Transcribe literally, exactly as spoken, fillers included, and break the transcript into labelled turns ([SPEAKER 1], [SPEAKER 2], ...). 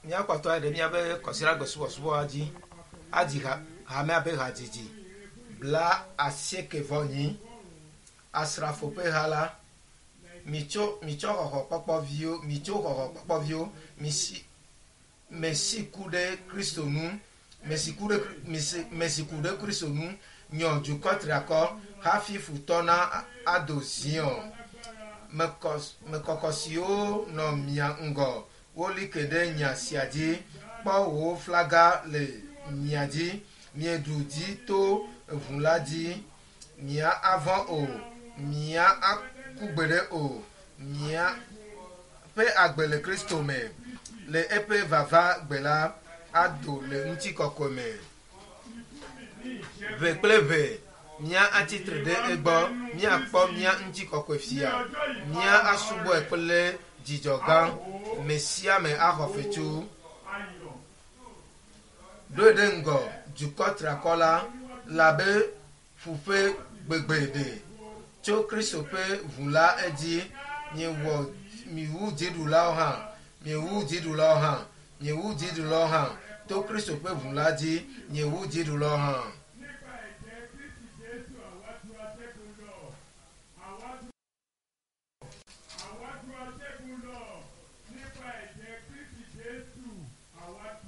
[SPEAKER 1] Míakpɔtɔ ayi ɖe míaƒe kɔsiɖagbe subɔsubɔa dzi adzi ha hamea ƒe hadzidzi bla asieke vɔ nyi asrafo ƒe ha la mitso mitsɔ xɔxɔkpɔkpɔviwo mitso xɔxɔkpɔkpɔviwo misi mesi ku ɖe kristo nu mesi ku ɖe mesi mesi ku ɖe kristo nu nyɔ dukɔ triakɔ hafi futɔ na ado ziɔ mekɔ mekɔkɔ siwo nɔ mia ŋgɔ woli ke ɖe nya sia dzi kpɔ wò flaga le mia dzi mieɖu dzi to ʋu la dzi mia avɔ o mia aku gbeɖe o mia ƒe agbe le kristo me le eƒe vava gbe la ado le ŋutikɔkɔe me ʋe kple ʋe mía atsitre ɖe egbɔ míakpɔ mía ŋutikɔkɔe fia mía asubɔe kple dzidzɔ gã me sia me axɔ fetu
[SPEAKER 2] Ayọ̀.
[SPEAKER 1] ɖoe ɖe ŋgɔ dukɔ triakɔ la labe ƒuƒe gbegbe ɖe tso kristo ƒe ʋu la edzi miewɔ miwu dziɖulawo hã miewu dziɖulawo hã miewu dziɖulawo hã to kristo ƒe ʋu la dzi miewu dziɖulawo hã.
[SPEAKER 2] Nípa ẹ̀jẹ̀ Kristi Jésù àwa ju aṣẹ́gun lọ. Àwa ju àwa ju aṣẹ́gun lọ. Nípa ẹ̀jẹ̀ Kristi Jésù àwa ju